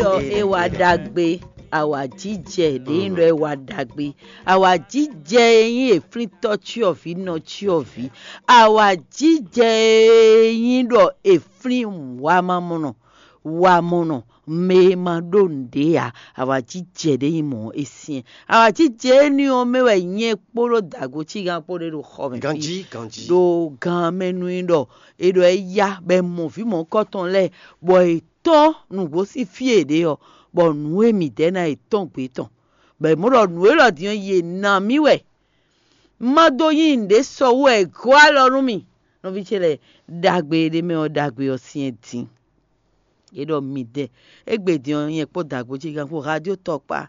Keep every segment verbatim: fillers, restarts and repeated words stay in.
Ɖɔ é wá ɖagbe, awǎjijɛ ɖě nyí ɖɔ é wá ɖagbe. Awǎjijɛ e nyí eflíntɔ́ cyɔvǐ nɔ cyɔvǐ. Awǎjijɛ e nyí ɖɔ eflín wamamɔnɔ, wamɔnɔ, mɛ e ma ɖó nǔɖé ǎ. Awǎjijɛ ɖě nyí mɔ̌ é syɛ́n. Awǎjijɛ énɛ́ ɔ́ mɛ wɛ nyɛ kpódó dǎgocí gán kpó ɖé ɖo xɔ mɛ fí. Ganjí, ganjí. Ɖo gan mɛ nú i ɖɔ è ɖɔ é yá bɔ è mɔ vǐ mɔ̌hunkɔtɔn lɛ́ɛ, bɔ è tɔ́n nǔgbó sín fí e è ɖe ɔ́, bɔ nǔ e mǐ dɛ ná è tɔ́n gbě tɔn, bɔ è mɔ ɖɔ nǔ élɔ́ din ɔ́, yě ná mì wɛ. Má dó nyí nǔɖé sɔ wú wɛ è gɔ́ alɔ nú mì. Nɔví ce lɛ́ɛ, ɖagbe e ɖ'é mɛ ɔ́, ɖagbe ɔ́ syɛ́n din. É ɖɔ midɛɛ, égbé din ɔ́, nyɛ kpó dǎgbó ce gán kpó radio tɔkpá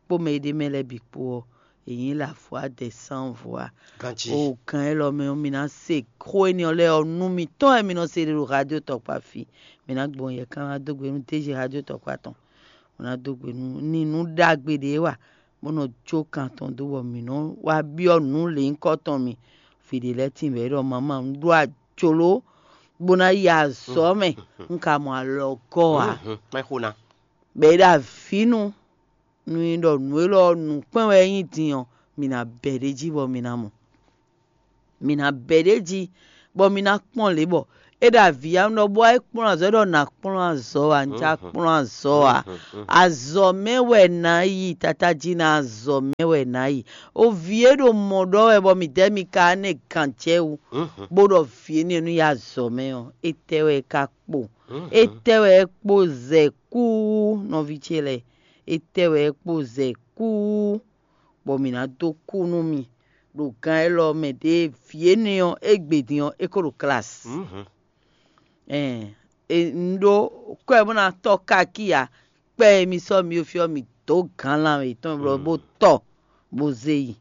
kpó mɛ e ɖ'é mɛ lɛ́ɛ bǐ kpó ɔ́, è nyǐ la fwá dɛ sán vɔ̌ a. Ganjí. O gǎn élɔ́ mɛ ɔ́, mi ná se xó énɛ́ ɔ́ lɛ́ɛ ɔ́, nú mitɔn wɛ mi nɔ se ɖe ɖo radio tɔkpá fí. Mi ná gbɔn yɛ kán ná dó gbe nú déji radio tɔkpá tɔn. Bó ná dó gbe nú ní nǔ ɖagbe ɖě wa, bó nɔ jó kan tɔn dó bɔ mǐ nɔ wá byɔ́ nǔ lěhunkɔtɔn mi. Vǐ ɖé lɛ́ɛ tíin bɔ é ɖɔ: "Mama, un ɖó ajló bó ná yi azɔ̌ mɛ, un ka mɔ alɔgɔ́ ǎ." Kpɛ́ xó ná. Bɔ é ɖo avǐ nu, nú nyí ɖɔ nǔ élɔ́ ɔ́, nǔkpɛ́n wɛ é nyí din ɔ́, mǐ ná bɛ̌ ɖ'é jí bɔ mǐ ná mɔ. Mǐ ná bɛ̌ ɖ'é jí, bɔ mǐ ná kpɔ́n lě bɔ é ɖo avǐ ya nɔ bɔ é kplɔ́n azɔ̌, é ɖɔ nǎ kplɔ́n azɔ̌ ǎ, un já kplɔ́n azɔ̌ ǎ. Azɔ̌ mɛ wɛ nǎ yi, tata jí ná azɔ̌ mɛ wɛ nǎ yi. O vǐ e ɖo mɔ̌ ɖɔ wɛ bɔ mǐdɛɛ mi ka nɛ gǎn jɛ wú, bó ɖɔ vǐ énɛ́ nú yi azɔ̌ mɛ ɔ́, étɛ́ wɛ é ka kpo? Étɛ́ wɛ é kpo zɛ kú nɔví ce lɛ́ɛ? Étɛ́ wɛ é kpo zɛ kú bɔ mǐ ná dó kú nú mi ɖo gan élɔ́ mɛ ɖě vǐ énɛ́ ɔ́, égbé din ɔ́, é ko ɖo klasi. Ɛn, un ɖó kwɛ bó ná tɔ́ káki ǎ. Kpɛ́ e mi sɔ́ mi ɖo fí ɔ́, mi dǒ gǎnlan yětɔn bó tɔ bó zé yi.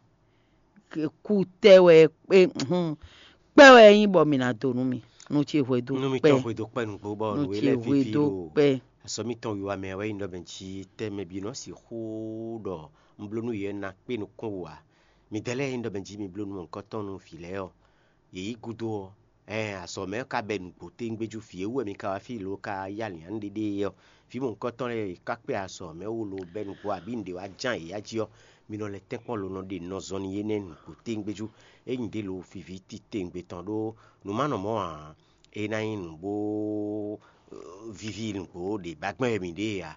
Kú tɛ́ wɛ kpɛ́ wɛ é nyí bɔ mǐ ná dó nú mi. Nú ce hwedó kpɛ́. Nú mitɔn hwedó kpɛ́ nǔgbó bɔ nǔ e lɛ́ɛ víví ɖo kpɛ́. Azɔ̌ mitɔn wiwa mɛ wɛ nyí ɖɔ mɛ jí tɛ́ mɛ bǐ nɔ sixú ɖɔ un bló nú yě ná kpé nukún wú ǎ. Midɛɛ lɛ́ɛ e nyí ɖɔ mɛ jí mi bló nú mɔ̌hunkɔtɔn nú vǐ lɛ́ɛ ɔ́, yě yí gúdo ɔ́, ɛɛn, azɔ̌ mɛ ɔ́ ka bɛ nǔgbó téwúngbéjú vǐ e wú wɛ mi ka wá fí lo ka yí alǐnnyánú ɖéɖé é ɔ́, vǐ mɔ̌hunkɔtɔn lɛ́ɛ e ka kpé azɔ̌ mɛ wú lo bɛ́ nǔgbó abǐ nǔɖé wá ján yě ya jí ɔ́, mi nɔ lɛ́ tɛ́nkpɔ́n lo nɔ ɖe nɔ zɔn n'i énɛ́ nǔgbó téwúngbéjú. É nyí ɖě lo viví titewungbe tɔn ɖó nǔ ma nɔ mɔ̌ ǎ. É ná nyí nǔ bó víví nǔgbó ɖě ba gbɛn wɛ mǐ ɖe ǎ.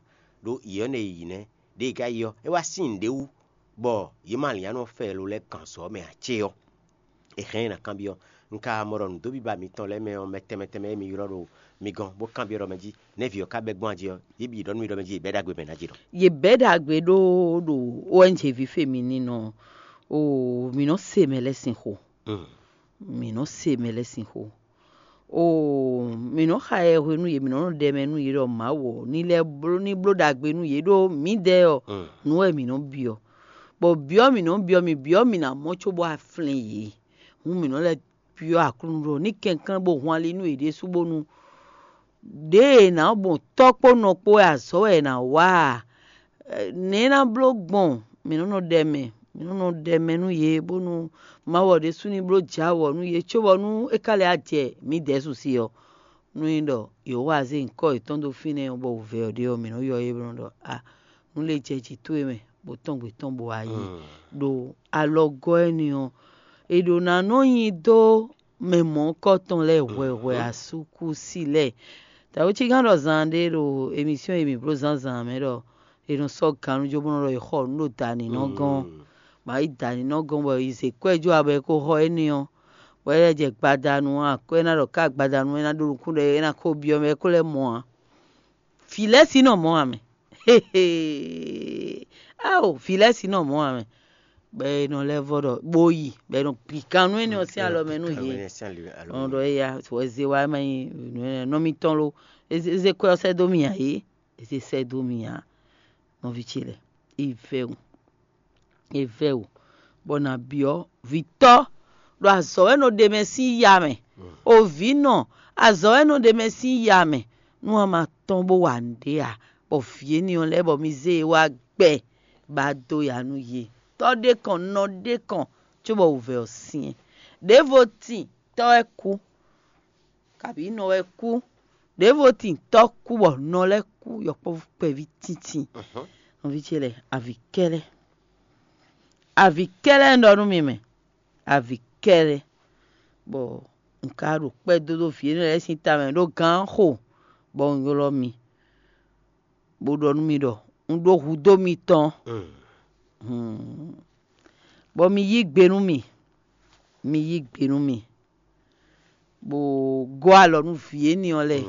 Ɖó yě ɔ́ nɛ yi nɛ́, ɖěe ka yi ɔ́, é wá sín nǔɖé wú, bɔ yě ma lǐn anɔ fɛ lo lɛ́ɛ gǎn sɔ mɛ ǎ cé ɔ́, è hɛn ɛ ná kanbyɔ́. Un ka mɔ ɖɔ nǔdóbíba mitɔn lɛ́ɛ mɛ ɔ́, mɛ tɛnmɛ tɛnmɛ e mi ylɔ́ ɖo mi gɔ́n bó kanbyɔ́ ɖɔ mɛ jí, nɛ̌ vǐ ɔ́ ka bɛ́ gbɔn jí ɔ́, yě bǐ ɖɔ nú mì ɖɔ mɛ jí yě bɛ́ ɖagbe mɛ ná jí ɖɔ. Yě bɛ́ ɖagbe ɖó ɖo O N G ví fe mi ní nɔ o, mǐ nɔ se mɛ lɛ́ɛ sín xo. Mǐ nɔ se mɛ lɛ́ɛ sín xó. Oo, mǐ nɔ xa yɛ hwenu yě, mǐ nɔ nɔ ɖɛ mɛ nú yě ɖɔ Mawu ɔ́ ní lɛ́ bló ní bló ɖagbe nú yě ɖó mǐdɛɛ ɔ́, nǔ wɛ mǐ nɔ byɔ́. Bɔ byɔ́ mǐ nɔ byɔ́ mǐ byɔ́ mǐ ná mɔ cóbɔ a flɛ́n yě. Hǔn mǐ nɔ lɛ́ byɔ́ Aklúnɔ ɖɔ ní kɛnklɛ́n bó hun ali nú yě ɖésú bónú ɖěe è nǎ gbɔn tɔ́ kpó nɔ kpó wɛ azɔ̌ wɛ è nǎ wa a? Nɛ̌ é ná bló gbɔn? Mǐ nɔ nɔ ɖɛ mɛ, mǐ nɔ nɔ ɖɛ mɛ nú yě bónú Mawu ɔ́ ɖésú ní bló jǎ wɔ̌ nú yě cóbɔ nú é ka lɛ́ jɛ mǐdɛɛ su sí ɔ́, nú nyí ɖɔ Yehowa zé nyǐkɔ yětɔn dó fínɛ́ ɔ́, bɔ wǔvɛ́ ɔ́ ɖe ɔ́, mǐ nɔ ylɔ́ yě bó nɔ ɖɔ a nǔ lě jɛ jǐ towe mɛ, bó tɔ́n gbě tɔn bó wá yi ɖo alɔgɔ́ énɛ́ ɔ́, è ɖǒ ná nɔ nyi dó mɛ mɔ̌hunkɔtɔn lɛ́ɛ hwɛhwɛ asúkúsi lɛ́ɛ. Tawucígán ɖɔ zan ɖé ɖo emisyon e mǐ bló zǎnzǎn mɛ ɖɔ è nɔ sɔ́ gannú jó bó nɔ ɖɔ è xɔ nǔ ɖo dǎninɔ́ gɔ́n. Mǎ yi dǎninɔ́ gɔ́n bɔ è zě kwɛ́ jó abɔ è ko xɔ énɛ́ ɔ́, bɔ é lɛ́ jɛ gbadanu akwɛ́ ná ɖɔ ká gbadanu é ná ɖó nukún ɖɛ é ná kó byɔ́ mɛ é kó lɛ́ mɔ ǎ. Vǐ lɛ́ɛ sí nɔ mɔ̌ ǎ mɛ. Ao, vǐ lɛ́ɛ sí nɔ mɔ̌ ǎ mɛ. Bɔ è nɔ lɛ́ vɔ ɖɔ bó yi, bɔ è nɔ gbi gannú énɛ́ ɔ́ sín alɔ mɛ nú yě. Ɔn ɖɔ éya wɛ zé wá ma nyí nɔ mitɔn lo. Eze kwɛ ɔ́ sɛ́ dó mì ǎ é. Eze sɛ́ dó mì ǎ. Nɔví ce lɛ́ɛ, é vɛ́ wǔ. É vɛ́ wǔ, bɔ nǎ byɔ́ vǐtɔ́ ɖo azɔ̌ wɛ nɔ ɖe mɛ sín ya mɛ. O vǐ nɔ, azɔ̌ wɛ nɔ ɖe mɛ sín ya mɛ. Nú a ma tɔ́n bó wa nǔɖé ǎ, bɔ vǐ énɛ́ ɔ́ lɛ́ɛ bɔ mi zé e wá gbɛ ba dó ya nú yě. Tɔ́ ɖé kɔn, nɔ ɖé kɔn, cóbɔ wǔvɛ́ ɔ́ syɛ́n. Ɖěvo tin, tɔ́ wɛ kú, kabǐ nɔ wɛ kú, Ɖěvo tin tɔ́ kú bɔ nɔ lɛ́ɛ kú yɔkpɔ́vú kpɛví tíntín. Nɔví ce lɛ́ɛ, avǐ kɛ́lɛ́, avǐ kɛ́lɛ́ un ɖɔ nú mi mɛ, avǐ kɛ́lɛ́, bɔ un ka ɖo kpɛ́ dó ɖó vǐ énɛ́ lɛ́ɛ sín tamɛ ɖó gǎn xo, bɔ un ylɔ́ mi, bó ɖɔ nú mi ɖɔ un ɖó hudó mitɔn, bɔ mi yí gbe nú mì, mi yí gbe nú mì, bó gɔ́ alɔ nú vǐ énɛ́ ɔ́ lɛ́ɛ,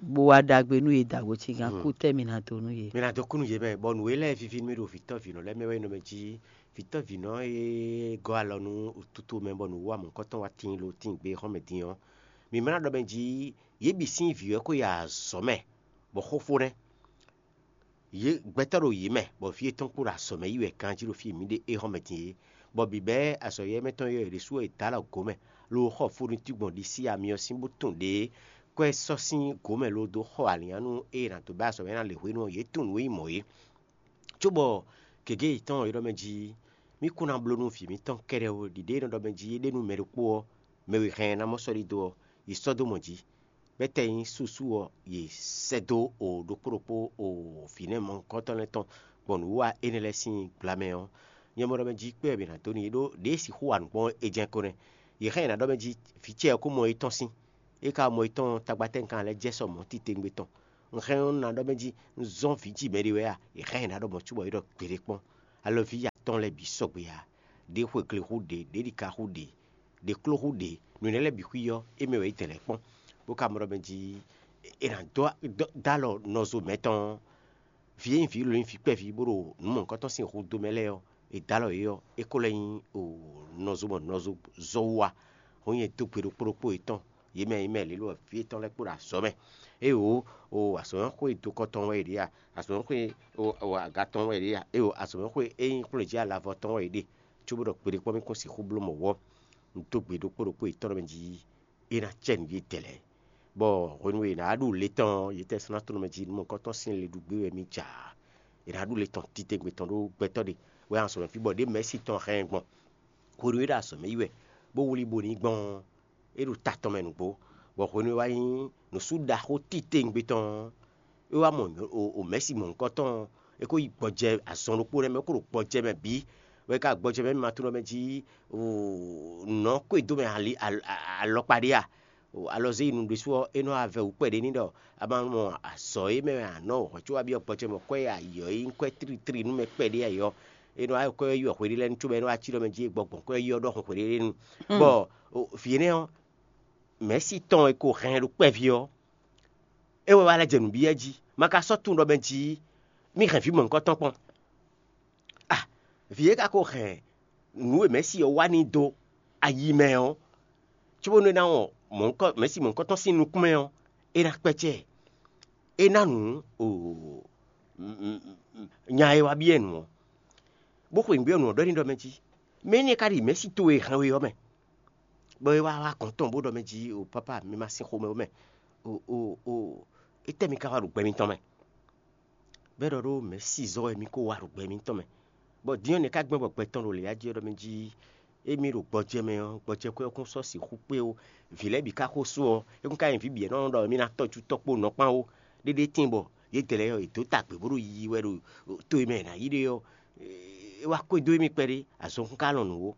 bó wá ɖagbe nú yě dǎgbó cígán kú tɛ́ mi ná dó nú yě. Mi ná dó kú nú yě mɛ, bɔ nǔ e lɛ́ɛ víví nú mì ɖo vǐtɔ́vǐnɔ lɛ́ɛ mɛ wɛ nyí nɔ mɛ jí vǐtɔ́vǐnɔ e gɔ́ alɔ nú tutu mɛ bɔ nǔwiwa mɔ̌hunkɔtɔn wá tíin lo tíin gbe xɔ́mɛ din ɔ́, mǐ ma ná ɖɔ mɛ jí yě bǐ sín vǐ wɛ ko yi azɔ̌ mɛ, bɔ xóxó nɛ́. Yě gbɛtɔ́ ɖo yě mɛ, bɔ vǐ yětɔn kpo ɖo azɔ̌ mɛ yi wɛ ganjí ɖo fí e mǐ ɖe é hɔn mɛ din é, bɔ bǐbɛ́ azɔ̌ yɛ́mɛtɔn yɔ́ yě ɖésú wɛ è dǒ alɔ gǒ mɛ, lo xɔ fónútí gbɔn ɖisí amyɔ sín bó tun ɖě kɔ́ ɛ sɔ́ sín gǒ mɛ lo dó xɔ alǐnnyánú e è nǎ dó bɛ́ azɔ̌ mɛ ná lě hwenu ɔ́, yě tunwun nǔ e yi mɔ̌ é. Cóbɔ gěgé yětɔn ɔ́, é ɖɔ mɛ jí mì kún ná bló nú vǐ mǐtɔn kɛ́ɖɛ́ ó, ɖiɖe e nɔ ɖɔ mɛ jí é ɖe nú mɛ ɖokpó ɔ́, mɛ e hɛn ɛ ná mɔ sɔ́ ɖidó ɔ́, yi sɔ́ dó mɔ jí. Bɛ́ tɛ nyí súsú ɔ́, yě sɛ́ dó o ɖokpó ɖokpó o vǐ nɛ́ mɔ̌hunkɔtɔn lɛ́ɛ tɔn gbɔn nǔwiwa énɛ́ lɛ́ɛ sín gbla mɛ ɔ́, nyɛ mɔ ɖɔ mɛ jí kpé wɛ mǐ ná dó n'i ɖó ɖěe sixú wa nǔ gbɔn é jɛ́n ko nɛ́. Yě xá nyi ná ɖɔ mɛ jí vǐ ce ɔ́ kó mɔ yětɔn sín, é ka mɔ yětɔn tagbatɛ́nkan lɛ́ɛ jɛ sɔ mɔ̌ titewungbe tɔn. Un hɛn ɔ́, un ná ɖɔ mɛ jí un zɔ́n vǐ ji mɛ ɖé wɛ a? Yě xá nyi ná ɖɔ mɔ̌ cóbɔ é ɖɔ gbeɖé kpɔ́n. Alɔví atɔ́ɔ́n lɛ́ɛ bǐ sɔgbe ǎ. Ɖě xwe gle xú ɖě, ɖě ɖika xú ɖě, ɖě kló xú ɖě, nǔ énɛ́ lɛ́ɛ bǐ xwí ɔ́, é mɛ wɛ é dɛ̌n lɛ́ɛ kpɔ́n, bó ka mɔ ɖɔ mɛ jí è nǎ dó dó alɔ nɔzo mɛtɔn ɔ́, vǐ e nyí vǐ lǒ nyí vǐ kpɛví bó ɖo nǔ mɔ̌hunkɔtɔn sín hudó mɛ lɛ́ɛ ɔ́, è dǒ alɔ yě ɔ́, é ko lɛ́ nyí nɔzo mɔ nɔzo zɔ́ wú wá. Hɔn nyɛ dó gbe ɖokpó ɖokpó yětɔn, yě mɛ nyí mɛ lě lɔ vǐ yětɔn lɛ́ɛ kpo ɖo azɔ̌ mɛ. Éeǒ, o azɔ̌mɛxwé dokɔ tɔn wɛ è ɖe a? Azɔ̌mɛxwé aga tɔn wɛ è ɖe a? Éeǒ, azɔ̌mɛxwé e nyí xwlé jí alavɔ tɔn wɛ è ɖe. Cóbó ɖɔ gbeɖé kpɔ́n mì kún sixú bló mɔ̌ wɔ́. Un dó gbe ɖokpó ɖokpó yětɔn mɛ jí é ná cɛ nǔ yětɛn lɛ́ɛ, bɔ hwenu e è nǎ ɖu le tɔn ɔ́, yětɛn sɔ́ ná tlɔ́n mɛ jí nú mɔ̌hunkɔtɔn sín le ɖu gbé wɛ mì jǎ. È nǎ ɖu le tɔn titewungbe tɔn ɖó gbɛtɔ́ ɖé wɛ azɔ̌ mɛ fí bɔ ɖě mɛ̌si tɔn hɛn ɛ gbɔn. Hwenu e é ɖo azɔ̌ mɛ yi wɛ, bó wlí bo ní gbɔn ɔ́, é ɖo ta tɔn mɛ nǔgbó, bɔ hwenu e wá nyí nǔsú ɖaxó titewungbe tɔn ɔ́, é wá mɔ mɛ̌si mɔ̌hunkɔtɔn ɔ́, é ko yi gbɔjɛ azɔn ɖokpó nɛ́ mɛ, é ko ɖo gbɔjɛ mɛ bǐ, bɔ é ka gbɔjɛ mɛ mɛ ma tunɔ mɛ jí nɔ̌ kó e dó mɛ alɔkpa ɖé a? Alɔzé yi nu ɖésú ɔ́, é nɔ wá vɛ wǔ kpɛɖé n'i ɖɔ a ma mɔ azɔ̌ e mɛ wɛ a nɔ hɔ̌ có wá byɔ́ gbɔjɛ mɛ kɔ́ e ayǐ ɔ́ nyí kɔ́ e tlítli nú mɛ kpɛɖé ayǐ ɔ́, é nɔ wá kɔ́ yi wɛ hweɖé lɛ́ɛ nu cóbɔ é nɔ wá cí ɖɔ mɛ jí e gbɔ gbɔn kɔ́ e yi ɔ́ ɖɔhun hweɖé nu. Bɔ vǐ énɛ́ ɔ́, mɛ̌si tɔn e ko hɛn ɖo kpɛví ɔ́, é wɛ wá lɛ́ jɛ nǔ byɔ́ jí, ma ka sɔ́ tunwun ɖɔ mɛ jí mì hɛn vǐ mɔ̌hunkɔtɔn kpɔ́n. Ah, vǐ e ka ko hɛn nǔ e mɛ̌si ɔ́ wá n'i dó ayi mɛ ɔ́, cóbónú é ná wɔn mɔ̌hunkɔ mɛ̌si mɔ̌hunkɔtɔn sín nukún mɛ ɔ́, é ná kpɛ́cɛ́ ɛ. É ná nǔ nya e wá byɔ́ ɛ nǔ ɔ́, bó xweyǐgbe ɔ́ nǔ ɔ́ ɖɔ n'i ɖɔ mɛ jí, mɛ énɛ́ ka ɖi mɛ̌si towe e hɛn we ɔ́ mɛ, bɔ é wá wá gɔ̌n tɔn bó ɖɔ mɛ jí, o pápá, mi ma sin xomɛ ó mɛ, o o o étɛ́ mi ka wá ɖo gbɛ mitɔn mɛ? Bɔ é ɖɔ ɖó mɛ̌si zɔ́ wɛ mi ko wá ɖo gbɛ mitɔn mɛ, bɔ din ɔ́ nɛ̌ ka gbɛn bɔ gbɛ tɔn ɖo lě jí ɔ́ ɖɔ mɛ jí émí ɖo gbɔjɛ mɛ ɔ́, gbɔjɛkwɛ́ ɔ́ kún sɔ́ sixú kpé ó. Vǐ lɛ́ɛ bǐ ka xo sú ɔ́, é kún ka nyí vǐ bǐ e nɔ ɖɔ émí ná tɔ́ cú tɔ́ kpó nɔ kpán ó. Ɖéɖé tíin bɔ yědɛɛ lɛ́ɛ ɔ́, yě dó ta gbě bó ɖo yiyi wɛ ɖo to e mɛ è nǎ yí ɖe ɔ́, é wá xwedó émí kpɛɖé, azɔn kún ka lɔn nǔ ó.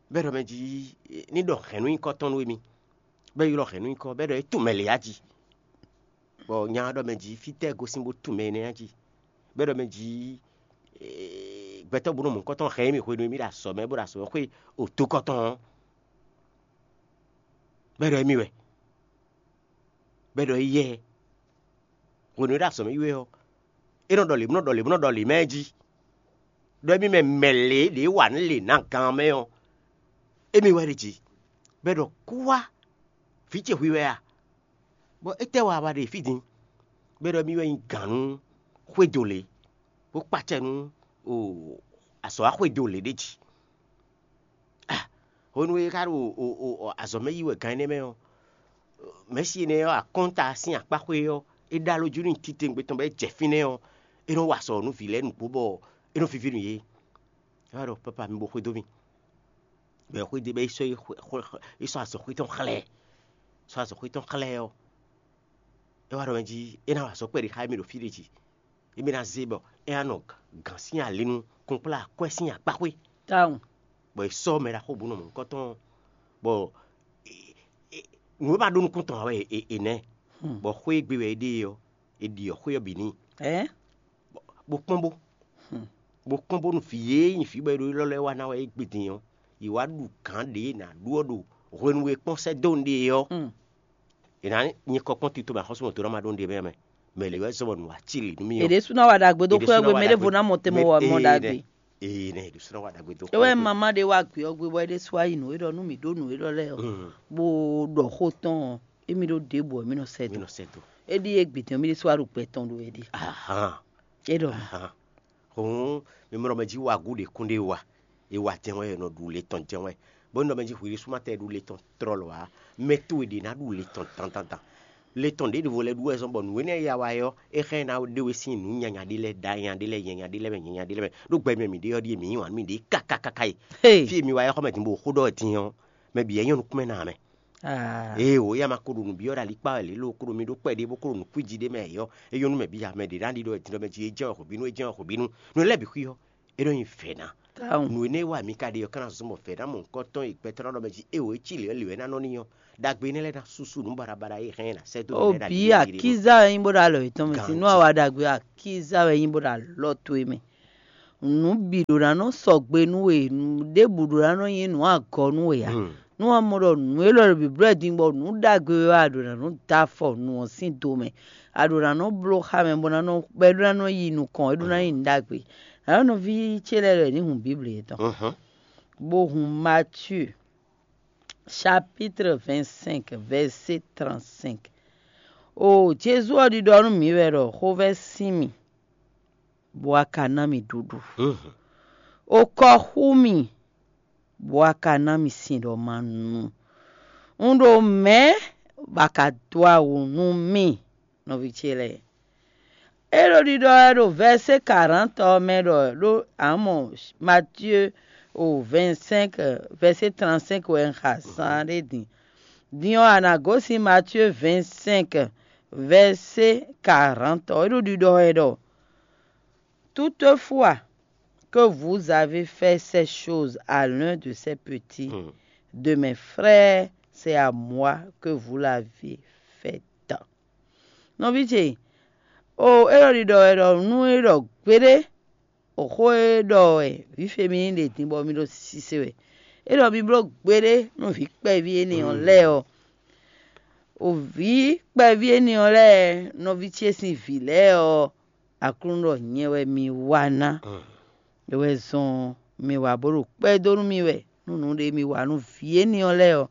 Bɔ é ɖɔ mɛ jí ní ɖɔ hɛ̌nnu nyíkɔ tɔn nú émí, bɔ é ylɔ́ hɛ̌nnu nyíkɔ, bɔ é ɖɔ é tunwun mɛ lě á jí. Bɔ nya ɔ́ ɖɔ mɛ jí, fítɛ́ gosín bó tunwun mɛ énɛ́ á jí? Bɔ é ɖɔ mɛ jí, gbɛtɔ́ bó nɔ mɔ̌hunkɔtɔn hɛn émí hwenu e mí ɖo azɔ̌ mɛ bó ɖo azɔ̌ mɛ xwé odokɔtɔn ɔ́, bɔ é ɖɔ émí wɛ, bɔ é ɖɔ éyɛ́. Hwenu e é ɖo azɔ̌ mɛ yi wɛ ɔ́, é nɔ ɖɔ lě bó nɔ ɖɔ lě bó nɔ ɖɔ lě mɛ jí, ɖɔ émí mɛ mɛ lě ɖě wa nǔ lě ná gan mɛ ɔ́, émí wɛ ɖe jí, bɔ é ɖɔ kú wá, vǐ ce hwi wɛ a? Bɔ étɛ́ wa wá ɖe fí din? Bɔ é ɖɔ émí wɛ nyí gǎn nú xwédo lě, bó kpacɛ nú azɔ̌ wá xwédo lě ɖé jí. Hwenu e é ka ɖo azɔ̌ mɛ yi wɛ gan énɛ́ mɛ ɔ́, mɛ̌si énɛ́ ɔ́, akɔ́nta sín akpáxwé ɔ́, é ɖó alɔ jí nú titewungbe tɔn bɔ é jɛ fínɛ́ ɔ́, é nɔ wa azɔ̌ nú vǐ lɛ́ɛ nǔgbó bɔ é nɔ víví nú yě. É wá ɖɔ pápá mi bo xwedó mì. Bɔ é xwedó bɔ é sɔ́ é sɔ́ azɔ̌xwé tɔn xlɛ́. sɔ́ azɔ̌xwé tɔn xlɛ́ ɔ́, é wá ɖɔ mɛ jí é ná wa azɔ̌ kpɛɖé xá émí ɖo fí ɖé jí. Émí ná zé bɔ é ná nɔ gǎn sín ali nú kunkplá akwɛ́ sín akpáxwé. Tawun. Bɔ è sɔ́ mɛ ɖaxó bǔ nɔ mɔ̌hunkɔtɔn, bɔ nǔ e ma ɖó nukún tɔn ǎ wɛ è nɛ́, bɔ xwé e gbe wɛ é ɖe ɔ́, è ɖiɔ xwé ɔ́ bǐ n'i. Bó kpɔ́n bó bó kpɔ́n bónú vǐ e nyí vǐ bɔ è ɖo élɔ́ lɛ́ɛ wá ná wɛ é gbe din ɔ́, yě wá ɖu gǎn ɖě ná ɖu ɔ́ ɖo hwenu e kpɔ́n sɛ́ dó nǔɖé ɔ́. È nǎ nyí kɔ kpɔ́n tito mɛ axɔ́súmɔtɔ́ ná ma ɖó nǔɖé mɛ mɛ. Mɛ lě wɛ zɔ́n bɔ nǔ wá ci lě nú mì ɔ́. È ɖésú ná wa ɖagbe dó xwé ɔ́ gbe, mɛ ɖěvo ná mɔ te mɔ wa mɔ ɖagbe. Ee, nɛ è ɖésú ná wa ɖagbe dó xwé. É wɛ mama ɖé wá gbé ɔ́ gbe bɔ é ɖésú wá yi nǔ e ɖɔ nú mǐ ɖó nǔ e ɖɔ lɛ́ɛ ɔ́, bó ɖɔ xó tɔn ɔ́, émí ɖó ɖěbǔ ɔ́, mí nɔ sɛ dó. Mí nɔ sɛ dó. É ɖíe gbǐtɔ́n mí ɖésú wá ɖo gbɛ tɔn ɖó wɛ ɖe. Ahan. É ɖɔ mɛ. Ahan. Hǔn mi mɔ ɖɔ mɛ jí wa gǔ ɖě kún ɖé wa. È wa jɛ́n wɛ, è nɔ ɖu le tɔn jɛ́n wɛ. Bó nɔ mɛ jí hwi ɖésú ma tɛ ɖu le tɔn tlɔlɔ ǎ. Mɛ towe ɖě ná ɖu le tɔn dandandan. Le tɔn ɖěɖěvo lɛ́ɛ ɖu wɛ zɔ́n bɔ nǔ énɛ́ e ya wa é ɔ́, é xá ɛ ná ɖe we sín nǔ nyanya ɖé lɛ́ɛ, da nyanya ɖé lɛ́ɛ, nyanya ɖé lɛ́ɛ mɛ, nyanya ɖé lɛ́ɛ mɛ. Ɖó gbɛ mɛ mǐ ɖe ɔ́ ɖíe mǐ yí wǎn nú mǐɖée kákákáká e. Fí e mi wa é xɔ mɛ din bó xó ɖɔ din ɔ́, mɛ bǐ wɛ nyɔ́ nukún mɛ ná mɛ. Ee o, éyɛ́ ma ko ɖo nǔ byɔ́ ɖo alikpá wɛ lě lo, ko ɖo mi ɖó kpɛɖé bó ko ɖo nǔ kwíji ɖé mɛ ɔ́, é nyɔ́ nú mɛ bǐ ya, mɛ ɖě ná ɖi ɖɔ è din ɖɔ mɛ jí é jɛ́n wɛ xwebínú, é jɛ́n wɛ xwebínú. Nǔ lɛ́ɛ bǐ xwí ɔ́, é nɔ nyi vɛ̌ ná. Nǔ énɛ́ e wa mǐ ka ɖe ɔ́, ka ná zɔ́n bɔ vɛ̌ ná mɔ nukɔntɔn e gbɛtɔ́ ná ɖɔ mɛ jí é o, é cí lě ɔ́, lě wɛ é ná nɔ n'i ɔ́, ɖagbe énɛ́ lɛ́ɛ ná súsú nǔ baɖabaɖa e hɛn ná sɛ́ dó mǐ lɛ́ɛ ɖo Obǐ, akíza wɛ nyí bó ɖo alɔ yětɔn mɛ. Sin nú a wa ɖagbe, akíza wɛ nyí bó ɖo alɔ towe mɛ. Nǔ bǐ ɖó ná nɔ sɔgbe nú we, nǔ ɖěbǔ ɖó ná nɔ nyí nǔ agɔ nú we ǎ. Nú a mɔ ɖɔ nǔ élɔ́ ɖo bǐblɔ́ din bɔ nǔ ɖagbe wɛ wɛ a ɖǒ ná nɔ dó afɔ nǔ ɔ́ sín do mɛ, a ɖǒ ná nɔ bló xá mɛ bó ná nɔ bɔ é ɖó ná nɔ yi nukɔn, é ɖó ná nyí nǔ ɖagbe. Nǎ nɔví ce lɛ́ɛ ɖɔ è ní hun Bíbli yětɔn, bó hun Matíu chapitre vingt-cinq, verset trente-cinq. O Jezu ɔ́ ɖiɖɔ nú mǐ wɛ ɖɔ xovɛ́ sín mì, bɔ a ka ná mì ɖuɖu. O kɔ xú mì, bɔ a ka ná mì sin ɖɔ ma nu. Un ɖo mɛ̌ bɔ a ka dó awu nú mì, nɔví ce lɛ́ɛ. É ɖo ɖiɖɔ wɛ ɖo vɛ̌sé karantɔ ɔ́ mɛ ɖɔ ɖó a mɔ Matíe o vɛ̌ncinq vɛ̌sé trantcinq wɛ un xa zán ɖé din. Din ɔ́, a nǎ gosín Matíe vɛ̌ncinq vɛ̌sé karantɔ. É ɖo ɖiɖɔ wɛ ɖɔ: Toutefois, que vous avez fait ces choses à l'un de ces petits de mes frères, c'est à moi que vous l'avez fait. Nɔví ce, o é ɖo ɖiɖɔ wɛ ɖɔ nú é ɖɔ gbeɖé, o xó e ɖɔ wɛ vǐ Femini ɖe din bɔ mi ɖo sise wɛ. É ɖɔ mi bló gbeɖé nú vǐ kpɛví énɛ́ ɔ́ lɛ́ɛ ɔ́. O vǐ kpɛví énɛ́ ɔ́ lɛ́ɛ, nɔví ce sín vǐ lɛ́ɛ ɔ́, Aklúnɔ ɖɔ nyɛ wɛ mi wa ná. É wɛ zɔ́n mi wa bó ɖo kpɛ́ dó nú mì wɛ, nú nǔɖé mi wa nú vǐ énɛ́ ɔ́ lɛ́ɛ ɔ́,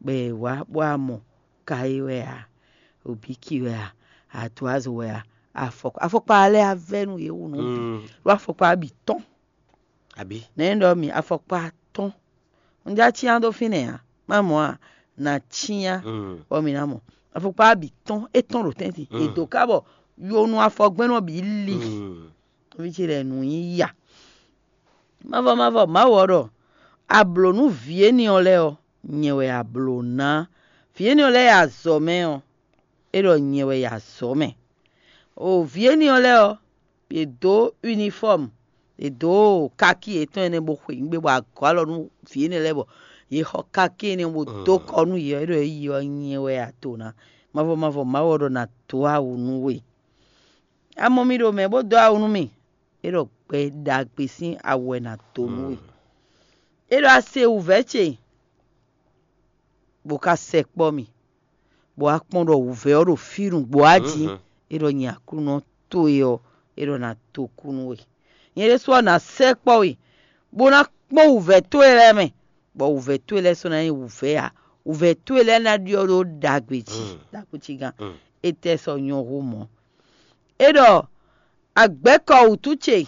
bɔ è wǎ bó wá mɔ ka é wɛ ǎ, obíki wɛ ǎ, atuwázo wɛ ǎ, afɔkpa, afɔkpa lɛ́ɛ á vɛ́ nú yě wu nǔ bǐ, ɖó afɔkpa bǐ tɔ́n. Abǐ? Nɛ̌ ɖɔ mi afɔkpa tɔ́n? Un já cyán dó fínɛ́ ǎ, má mɔ a nǎ cyán bɔ mi ná mɔ. Afɔkpa bǐ tɔ́n, é tɔ́n ɖo tɛ́ntin, è dǒ ká bɔ yonu afɔgbɛ́nɔ bǐ li. Nɔví ce lɛ́ɛ nǔ nyí ya. Mavɔ mavɔ Mawu ɔ́ ɖɔ: A blǒ nú vǐ énɛ́ ɔ́ lɛ́ɛ ɔ́, nyɛ wɛ a blǒ ná. Vǐ énɛ́ ɔ́ lɛ́ɛ e azɔ̌ mɛ ɔ́, é ɖɔ nyɛ wɛ yi azɔ̌ mɛ. O vǐ énɛ́ ɔ́ lɛ́ɛ ɔ́, è dǒ unifɔ́mu, è dǒ kaki yětɔn énɛ́ bó xwe nǔgbé bɔ a gɔ̌ alɔ nú vǐ énɛ́ lɛ́ɛ bɔ yě xɔ kaki énɛ́ bó dó kɔ nú yě ɔ́, é ɖɔ é yi ɔ́ nyɛ wɛ a to ná. Mavɔ mavɔ Mawu ɔ́ ɖɔ ná dó awu nú we. A mɔ mì ɖo mɛ̌ bó dó awu nú mì? É ɖɔ gbɛ ɖagbe sín awu wɛ ná dó nú we. É ɖɔ a se wǔvɛ́ ce, bó ka sɛkpɔ́ mì, bɔ a kpɔ́n ɖɔ wǔvɛ́ ɔ́ ɖo fí nǔgbó a jí. É ɖɔ nyɛ Aklúnɔ towe ɔ́, é ɖɔ ná dó kú nú we. Nyɛ ɖésú ɔ́ ná sɛkpɔ́ we, bó ná kpɔ́n wǔvɛ́ towe lɛ́ɛ mɛ, bɔ wǔvɛ́ towe lɛ́ɛ sɔ́ ná nyí wǔvɛ́ ǎ. Wǔvɛ́ towe lɛ́ɛ ná ɖyɔ́ ɖó ɖagbe jí, ɖakucígán. Étɛ́ sɔ́ nyɔ́ hú mɔ̌? É ɖɔ: Agbɛ̌kɔ wǔtu ce,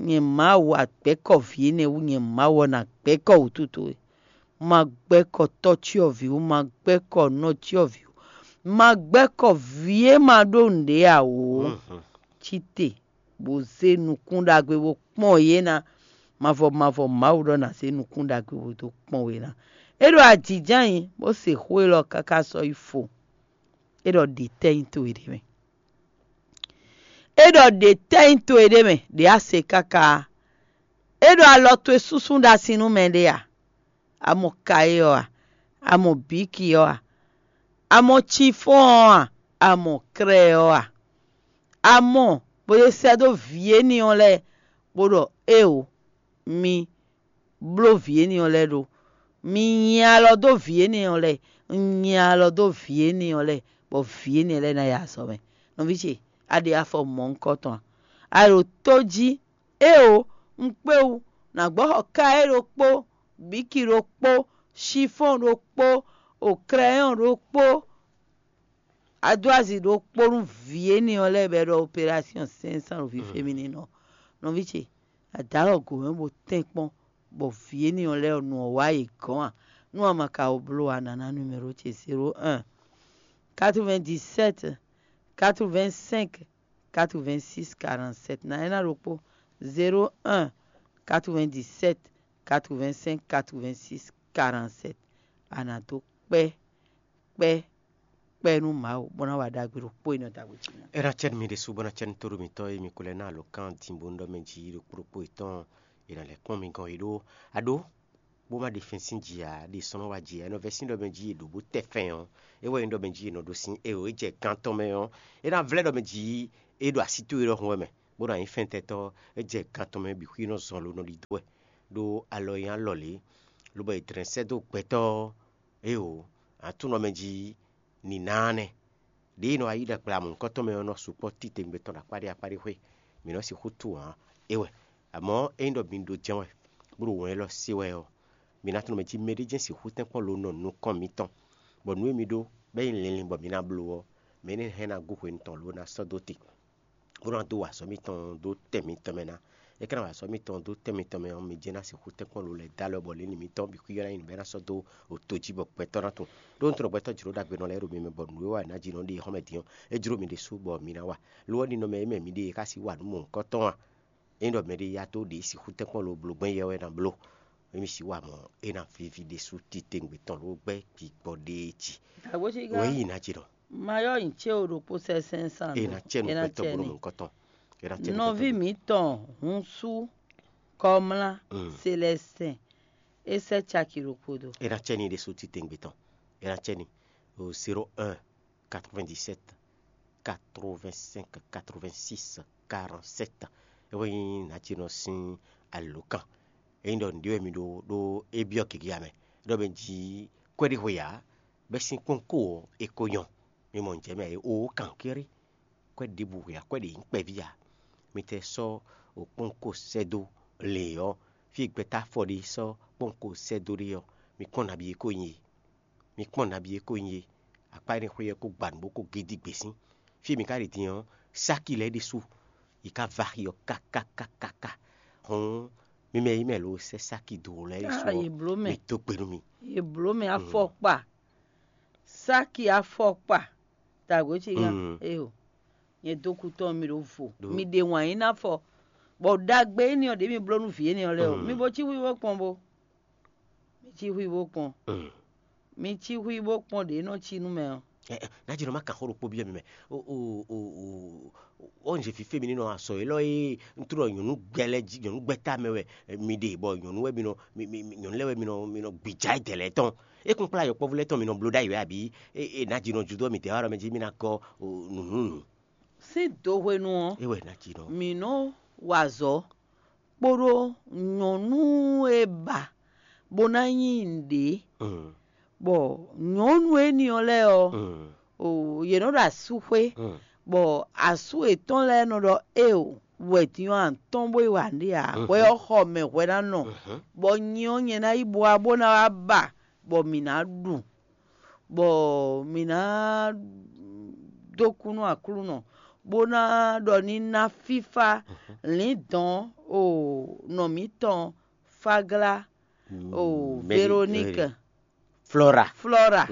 nyɛ Mawu, agbɛ̌kɔ vǐ énɛ́ wú nyɛ Mawu ɔ́ ná gbɛ̌kɔ wǔtu towe. Ma gbɛ́kɔ tɔ́ cyɔ́vǐ wú, ma gbɛ́kɔ nɔ cyɔ́vǐ wú, ma gbɛ́kɔ vǐ e ma ɖó nǔɖé ǎ ó. Cí te, bó zé nukún ɖagbe bó kpɔ́n yě ná. Mavɔ mavɔ Mawu ɖɔ ná zé nukún ɖagbe bó dó kpɔ́n we ná. É ɖo ajǐján nyi, bó se xó élɔ́ káká sɔ́ yi fo. É ɖɔ ɖě tɛ́ nyí towe ɖé mɛ. É ɖɔ ɖě tɛ́ nyí towe ɖé mɛ, ɖě a se káká. É ɖɔ alɔ towe súnsún ɖo asi nú mɛɖé a? A mɔ kayé ɔ́ a? A mɔ bǐki ɔ́ a? A mɔ cifɔ́n ɔ́ a? A mɔ krɛ́ ɔ́ a? A mɔ bó ɖe sɛ́ dó vǐ énɛ́ ɔ́ lɛ́ɛ, bó ɖɔ éeǒ, mi bló vǐ énɛ́ ɔ́ lɛ́ɛ ɖó. Mi nyi alɔ dó vǐ énɛ́ ɔ́ lɛ́ɛ, un nyi alɔ dó vǐ énɛ́ ɔ́ lɛ́ɛ, bɔ vǐ énɛ́ lɛ́ɛ ná yi azɔ̌ mɛ. Nɔví ce, a ɖe afɔ mɔ̌hunkɔtɔn a? A ɖo tó jí, éeǒ, un kpé wú, nǎ gbɔ́ xɔ káyé ɖokpó, bǐki ɖokpó, sífɔ́n ɖokpó, o krɛyɔ́n ɖokpó, adó azi ɖokpó nú vǐ énɛ́ ɔ́ lɛ́ɛ bɔ é ɖɔ opérasyɔn sɛ́nsán ɖo fífémíninɔ. Nɔví ce, a dǒ alɔ gǒ mɛ bó tɛ́nkpɔ́n, bɔ vǐ énɛ́ ɔ́ lɛ́ɛ ɔ́, nu ɔ́ wá yě gɔ́n a? Nú a ma ka wɔ bló ǎ, nǎ ná numéro ce: zéro un, quatre-vingt-dix-sept, quatre-vingt-cinq, quatre-vingt-six, quarante-sept. Ná é ná ɖokpó: zéro un, quatre-vingt-dix-sept, quatre-vingt-cinq, quatre-vingt-six, quarante-sept. A nǎ dó kpɛ́ kpɛ́ kpɛ́ nú Mawu, bó ná wa ɖagbe ɖokpó e nɔ dagbe jí ná. É ná cɛ́ nú mi ɖésú, bó ná cɛ́ nú tóɖó mitɔ́ e mi ko lɛ́ ná alǒkan din bó nú ɖɔ mɛ jí ɖokpó ɖokpó yětɔn, è nǎ lɛ́ kpɔ́n mi gɔ́n é ɖó. A ɖó, bó má ɖe fɛ́n sín jǐ ǎ, ɖe sɔ́ nɔ wá jǐ ǎ, é nɔ vɛ́ sín ɖɔ mɛ jí è ɖǒ bó tɛ fɛn ɔ́, é wɛ nyí ɖɔ mɛ jí è nɔ ɖó sín é ɔ́, é jɛ gán tɔn mɛ ɔ́, é ná vlɛ́ ɖɔ mɛ jí é ɖo así towe ɖɔhun wɛ mɛ, bó ná nyí fɛntɛ́tɔ́, é jɛ gán tɔn mɛ bǐ xwí nɔ zɔn lo nɔ ɖidó wɛ, ɖó alɔ e nyí alɔ lě, lobɔ è dlɛ̌n sɛ́ dó gbɛtɔ́ ɔ́, éeǒ, aklúnɔ mɛ jí nǐnáa nɛ́. Ɖěe nɔ wá yí ɖagbe amɔ̌hunkɔtɔn mɛ ɔ́ nɔ sukpɔ́ titewungbe tɔn ɖo akpáɖé akpáɖé xwé. Mǐ nɔ sixú tunwun ǎ. É wɛ, amɔ̌ ényí ɖɔ mi ɖo jɛ́n wɛ, bó ɖo wɛn élɔ́ se wɛ ɔ́, mi ná tunwun mɛ jí mɛɖé jɛ́n sixú tɛ́nkpɔ́n lo nɔ nukɔn mitɔn, bɔ nǔ e mi ɖó bɔ é nyí linlin bɔ mi ná bló ɔ́, mɛ énɛ́ hɛn ná gú hwenu tɔn lǒ ná sɔ́ dó te, bó ná dó wa azɔ̌ mitɔn dó tɛn mitɔn mɛ ná. É ka ná wa azɔ̌ mitɔn dó tɛn mitɔn mɛ ɔ́, mi jɛ́n ná sixú tɛ́nkpɔ́n lo lɛ́ɛ dó alɔ bɔ lě ní mitɔn bǐ xwíyɔ́ ná nyí nǔ bɔ é ná sɔ́ dó to jí bɔ gbɛtɔ́ ná tunwun. Ɖó un tunwun ɖɔ gbɛtɔ́ jlǒ ɖagbe nɔ lɛ́ɛ ɖo mi mɛ, bɔ nǔ e wa è nǎ ji nɔ ɖe xɔ́mɛ din ɔ́, é jló mi ɖésú bɔ mi ná wa. Lo ɔ́, ninɔmɛ e mɛ mi ɖe e xá sí wa nǔ mɔ̌hunkɔtɔn a? Ényí ɖɔ mɛɖé ya dó ɖě sixú tɛ́nkpɔ́n lo bló gbɛ́n yɛ wɛ ná bló, émí sixú wa mɔ̌ é ná víví ɖésú titewungbe tɔn ló gbɛ́ gbigbɔ ɖéé jí. Wěyi ná jí nɔ. Mayɔ́ nyi cé o ɖokpó sɛ́sɛ́n sán. É ná cɛ́ nú gbɛtɔ́ bó nɔ mɔ̌hunkɔtɔn. É ná cɛ́ nú gbɛtɔ́. Nɔví mǐtɔn húnsú kɔmlá Selɛsɛn, é sɛ́ caki ɖokpó dó. É ná cɛ́ n'i ɖésú titewungbe tɔn. É ná cɛ́ n'i o zéro un, quatre-vingt-dix-sept, quatre-vingt-cinq, quatre-vingt-six, quarante-sept. É wɛ nyí nǎjínɔ sín alǒkan. Ényí ɖɔ nǔɖé wɛ mi ɖó ɖó é byɔ́ gěgé ǎ mɛ, ɖɔ mɛ jí kwɛ́ɖíhwe ǎ, bɛ́ sín kpɔ́nko ɔ́, é ko nyɔ́. Mi mɔ nǔjɛ mɛ ǎ é, oo kankéré. Kwɛ́ ɖěbǔ hwe ǎ, kwɛ́ ɖě nyí kpɛví ǎ. Mi tɛ sɔ́ kpɔ́nko sɛ́ dó lě ɔ́, fí e gbɛtɔ́ afɔ ɖé sɔ́ kpɔ́nko sɛ́ dó ɖe ɔ́, mi kpɔ́n nabí é ko nyí e. Mi kpɔ́n nabí é ko nyí e. Akpá énɛ́ xwé ɔ́ ko gba nǔ bó ko gé dí gbě sín. Fí e mi ka ɖe din ɔ́, sáki lɛ́ɛ ɖésú, yi ka va axi ɔ́ kákákákáká. Hɔn mi mɛ yi mɛ lo sɛ́ sáki dó lɛ́ɛ ɖésú ɔ́, mi dó gbe nú mi. Yě bló mɛ afɔkpa, sáki afɔkpa, dǎgbé ce gán. Eyo, nyɛ dó kú tɔn mi ɖo vo, mi ɖe wǎn yí ná fɔ, bɔ ɖagbe énɛ́ ɔ́ ɖě mi bló nú vǐ énɛ́ ɔ́ lɛ́ɛ ɔ́, mi bo cí xwíxwí bó kpɔ́n bó. Mi cí xwíxwí bó kpɔ́n bó. Mi cí xwíxwí bó kpɔ́n ɖě nɔ cí nú mɛ ɔ́. Ná jɛ nɔ má kan xó ɖokpó byɔ́ mi mɛ. O o o o o nze fífé mi ní nɔ azɔ élɔ́ e ntúnɔ nyɔ̌nu gbɛ lɛ́ɛ jí, nyɔ̌nu gbɛ tá mɛ wɛ mi ɖe, bɔ nyɔ̌nu wɛ mi nɔ mi mi nyɔ̌nu lɛ́ɛ wɛ mi nɔ mi nɔ gbìjà dɛ̌ lɛ́ɛ tɔn. É kún kplá yɔkpɔ́vú lɛ́ɛ tɔn mi nɔ bló ɖ'ayǐ wɛ abǐ? É ná jí nɔ judó mi dɛ̌ wá ɖɔ mɛ jí mi ná gɔ́ nǔnúnú. Sín do hwenu ɔ́, é wɛ ná jí nɔ. Mǐ nɔ wa azɔ̌ kpódó nyɔ̌nu e ba bó ná nyí nǔɖé, bɔ nyɔ̌nu énɛ́ ɔ́ lɛ́ɛ ɔ́, o yě nɔ ɖo asú xwé, bɔ asú yětɔn lɛ́ɛ nɔ ɖɔ éeǒ, wɛ din ɔ́ a nǎ tɔ́n bó yi wa nǔɖé ǎ, hwɛ ɔ́ xɔ mɛ hwɛ ná nɔ, bɔ nyi ɔ́ nyɛ ná yi bó wá bó ná wá ba, bɔ mǐ ná ɖu, bɔ mǐ ná dó kú nú Aklúnɔ, bó ná ɖɔ ní ná fífá lǐndɔ̌n o nɔ mǐtɔn Fáglá o Véroníke, Flora, Flora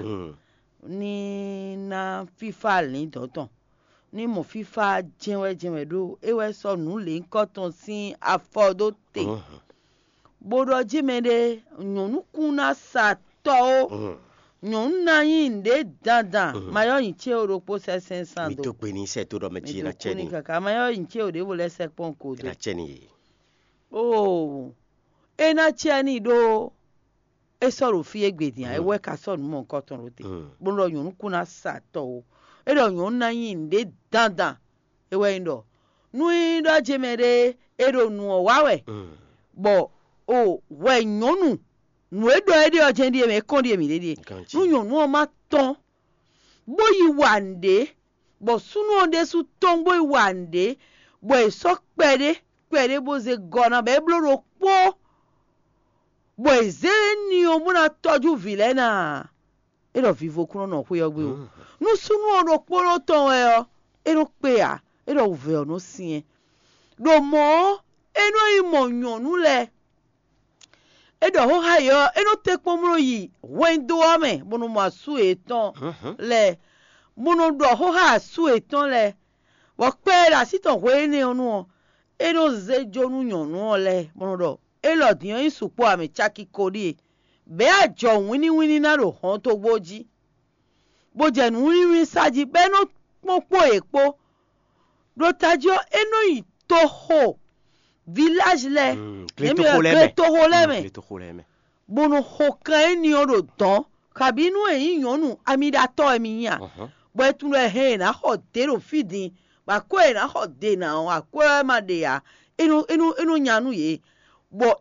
ní ná fífá lǐndɔ̌n tɔn, ní mɔ fífá jɛ́nwɛ́jɛ́nwɛ ɖó é wɛ sɔ́ nǔ lěhunkɔtɔn sín afɔ dó te, bó ɖɔ jí mɛɖé nyɔ̌nu kún ná sa tɔ ó. Nyɔ̌nu ná nyí nǔɖé dandan, ma yɔ nyi cé o ɖokpó sɛ́ sɛ́n sán mi dó. Tó gbe ní sɛ tó ɖɔ mɛ jí ná cɛ ní. Kaka ma yɔ nyi cé o ɖěvo lɛ́ sɛ́ kpɔ́n ko dó. Ná cɛ ní yé. Oo, é ná cɛ ní ɖó é sɔ́ ɖo fí égbé din ǎ, é wɛ ka sɔ́ nǔ mɔ̌hunkɔtɔn ɖó te, bó nɔ ɖɔ nyɔ̌nu kún ná sa tɔ ó. É ɖɔ nyɔ̌nu ná nyí nǔɖé dandan. É wɛ nyí ɖɔ nú nyí ɖɔ jɛ mɛ ɖé é ɖo nǔ ɔ́ wa wɛ, bɔ o hwɛ nyɔ̌nu nǔ e ɖɔ é ɖe ɔ́ jɛ́n ɖíe mɛ é kɔn ɖíe mǐ ɖe ɖíe. Nú nyɔ̌nu ɔ́ ma tɔ́n bó yi wa nǔɖé, bɔ súnnu ɔ́ ɖésú tɔ́n bó yi wa nǔɖé, bɔ è sɔ́ kpɛɖé kpɛɖé bó zé gɔ́ ná bɔ é bló ɖokpó, bɔ è zě ní ɔ́ bó ná tɔ́jú vǐ lɛ́ɛ ná ǎ. É ɖɔ vivo kún nɔ nɔ xwé ɔ́ gbe ó. Nú súnnu ɔ́ ɖokpónɔ tɔn wɛ ɔ́, é nɔ kpé ǎ, é ɖɔ wǔvɛ́ ɔ́ nɔ syɛ́n. Ɖo mɔ̌ ɔ́, é nɔ yi mɔ nyɔ̌nu lɛ́ɛ. É ɖɔ xóxá yě ɔ́, é nɔ tɛ́nkpɔ́n bló yi hwɛndo ɔ́ mɛ, bó nɔ mɔ asú yětɔn lɛ́ɛ, bó nɔ ɖɔ xóxá asú yětɔn lɛ́ɛ, bɔ kpɛ́ e ɖo así tɔn hwe énɛ́ ɔ́ nu ɔ́, é nɔ zé jó nú nyɔ̌nu ɔ́ lɛ́ɛ, bó nɔ ɖɔ: Élɔ́ din ɔ́ nyí sukpɔ́ ǎ, mɛ caki ko ɖíe, bɛ̌ ajɔ wínníwínní ná ɖo hɔntogbó jí, bó jɛ nǔwínníwínní sa jí, bɔ é nɔ kpɔ́n kpó yě kpó. Ɖo tají ɔ́, é nɔ yi toxo, vilázi lɛ́ɛ, gletoxo lɛ́ɛ mɛ, bó nɔ xo kan éní ɔ́ ɖo dɔ̌n, kabǐ nú è nyí nyɔ̌nu amiɖatɔ́ wɛ mi nyí a, bɔ é tunwun ɖɔ è hɛn è nǎ xɔ dě ɖo fí din, bɔ akwɛ́ è nǎ xɔ dě ná ɔ́, akwɛ́ wɛ ma ɖe ǎ, é nɔ é nɔ é nɔ nya nú yě, bɔ